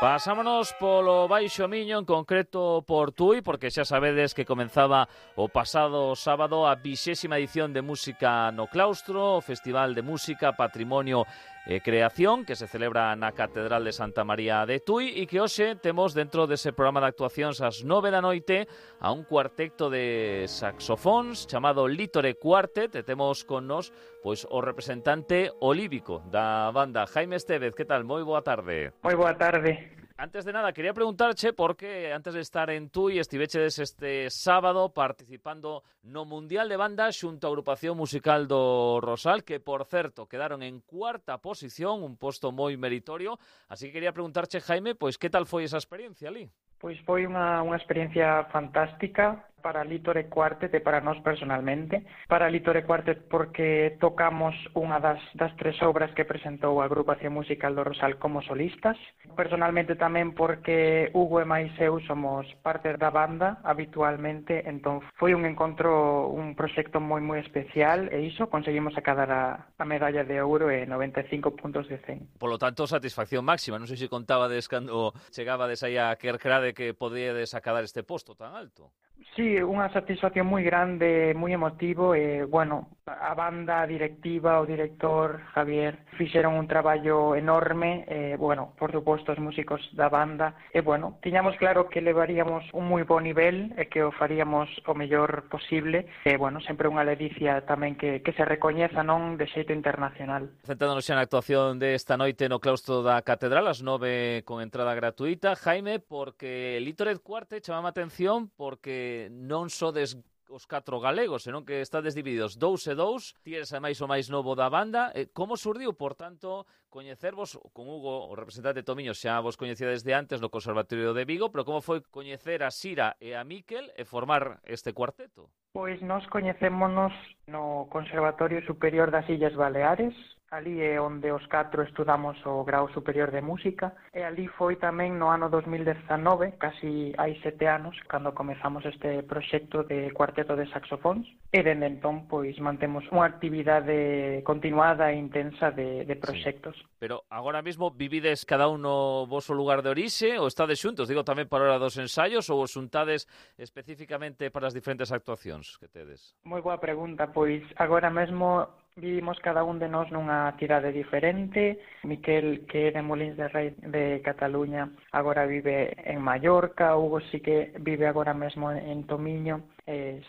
Pasámonos polo Baixo Miño, en concreto por Tui, porque xa sabedes que comenzaba o pasado sábado a 20ª edición de Música no Claustro, o Festival de Música, Patrimonio e Creación, que se celebra na Catedral de Santa María de Tui, e que hoxe temos dentro dese programa de actuacións ás 9 da noite a un cuarteto de saxofóns chamado Lítore Quartet, e temos con nos pois o representante olívico da banda, Jaime Estévez. Que tal? Moi boa tarde. Moi boa tarde. Antes de nada, quería preguntarche por que antes de estar en Tui estivechedes este sábado participando no Mundial de Banda xunto á agrupación musical do Rosal, que, por certo, quedaron en cuarta posición, un posto moi meritorio. Así que quería preguntarche, Jaime, pois que tal foi esa experiencia ali? Pois foi unha experiencia fantástica para Lítore Quartet e para nós personalmente. Para Lítore Quartet porque tocamos unha das tres obras que presentou a agrupación musical do Rosal como solistas. Personalmente tamén porque Hugo e máis eu somos parte da banda habitualmente, entón foi un encontro, un proxecto moi especial e iso conseguimos acadar a medalla de ouro e 95 puntos de 100. Polo tanto, satisfacción máxima. Non sei se contabades cando chegabades aí a Kerkrade que podíades acadar este posto tan alto. Sí, unha satisfacción moi grande, moi emotivo e, bueno, a banda, a directiva, o director, Javier, fixeron un traballo enorme e, bueno, por suposto, os músicos da banda e, bueno, tiñamos claro que levaríamos un moi bo nivel e que o faríamos o mellor posible e, bueno, sempre unha ledicia tamén que se recoñeza, non, de xeito internacional. Centrándonos xa na actuación desta noite no claustro da Catedral, ás 9 con entrada gratuita, Jaime, porque Lítore Quartet chamaba a atención porque non sodes os 4 galegos, senón que estades divididos 2 e 2, ti eres ademais o máis novo da banda. Como surdiu, por tanto, coñecervos con Hugo, o representante Tomiño, xa vos coñecía desde antes no Conservatorio de Vigo, pero como foi coñecer a Sira e a Miquel e formar este cuarteto? Pois nós coñecémonos no Conservatorio Superior das Illas Baleares. Ali é onde os 4 estudamos o grau superior de música e ali foi tamén no ano 2019, casi hai 7 anos, cando comezamos este proxecto de cuarteto de saxofóns e dende entón pois mantemos unha actividade continuada e intensa de proxectos. Sí. Pero agora mesmo vivides cada un no voso lugar de orixe ou estades xuntos? Digo tamén para a hora dos ensaios ou os xuntades especificamente para as diferentes actuacións que tedes? Moi boa pregunta, pois agora mesmo vivimos cada un de nós nunha cidade diferente. Miquel, que é de Molins de Rei de Cataluña, agora vive en Mallorca. Hugo sí que vive agora mesmo en Tomiño.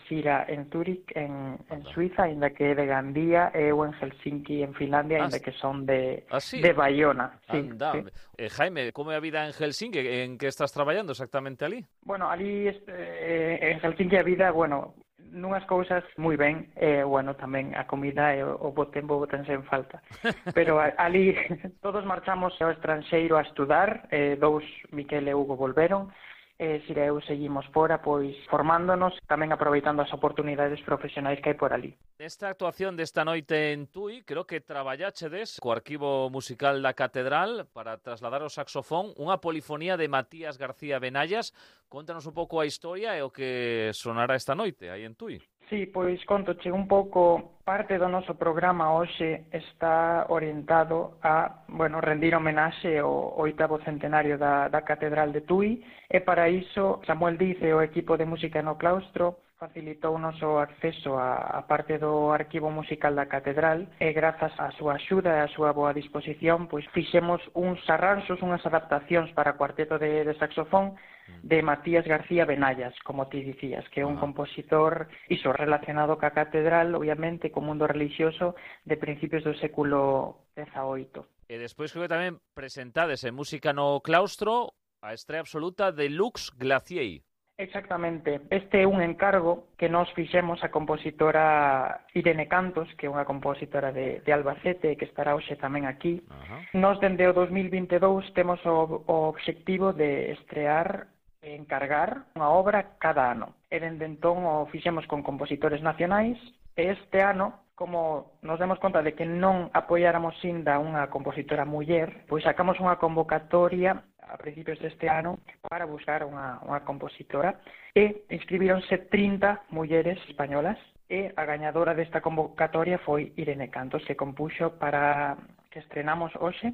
Sira en Zúrich, en Suiza, ainda que é de Gandía, e eu en Helsinki, en Finlandia, ainda que son de Baiona. Sí, sí. Jaime, como é a vida en Helsinki? En que estás traballando exactamente ali? Bueno, ali en Helsinki a vida, bueno, nunhas cousas moi ben, bueno, tamén a comida e o bo tempo botense en falta. Pero ali todos marchamos ao estranxeiro a estudar, 2, Miquel e Hugo, volveron, Sira e eu seguimos fora, pois formándonos, tamén aproveitando as oportunidades profesionais que hai por ali. Nesta actuación desta noite en Tui, creo que traballáchedes co arquivo musical da Catedral para trasladar o saxofón unha polifonía de Matías García Benallas. Contanos un pouco a historia e o que sonará esta noite aí en Tui. Sí, pois contoche un pouco. Parte do noso programa hoxe está orientado a, bueno, rendir homenaxe ao 8º centenario da Catedral de Tui e para iso Samuel Diz e o equipo de música no claustro facilitou o noso acceso a parte do arquivo musical da Catedral e grazas á súa axuda e á súa boa disposición, pois fixemos uns arranxos, unhas adaptacións para cuarteto de saxofón de Matías García Benallas, como ti dicías, que é un compositor iso relacionado ca Catedral, obviamente, co mundo religioso de principios do século XVIII. E despois creo que tamén presentades en Música no Claustro a estrea absoluta de Lux Glacier. Exactamente. Este é un encargo que nos fixemos a compositora Irene Cantos, que é unha compositora de Albacete, que estará hoxe tamén aquí. Nos, dende o 2022, temos o obxectivo de estrear e encargar unha obra cada ano. E dende entón o fixemos con compositores nacionais e este ano, como nos demos conta de que non apoiáramos inda unha compositora muller, pois sacamos unha convocatoria a principios deste ano para buscar unha compositora e inscribíronse 30 mulleres españolas e a gañadora desta convocatoria foi Irene Cantos, que compuxo para que estrenamos hoxe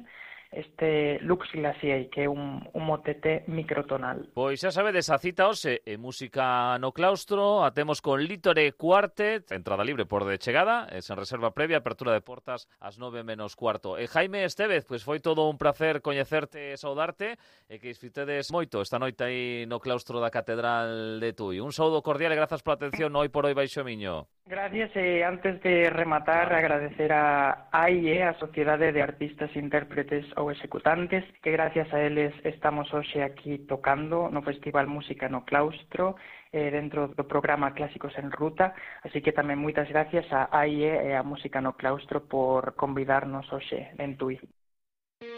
este Lux Glaciei, que é un motete microtonal. Pois xa sabedes, a cita hoxe en Música no Claustro, a temos con Lítore Quartet, entrada libre por de chegada, sen reserva previa, apertura de portas ás 9:15. E Jaime Estévez, pois foi todo un placer coñecerte e saudarte, e que disfrutedes moito esta noite aí no claustro da Catedral de Tui. Un saúdo cordial e grazas pola atención hoy por hoy Baixo Miño. Gracias, e antes de rematar, agradecer a AIE, a Sociedade de Artistas, Intérpretes ou Executantes, que gracias a eles estamos hoxe aquí tocando no Festival Música no Claustro, dentro do programa Clásicos en Ruta, así que tamén moitas gracias a AIE e a Música no Claustro por convidarnos hoxe en Tui.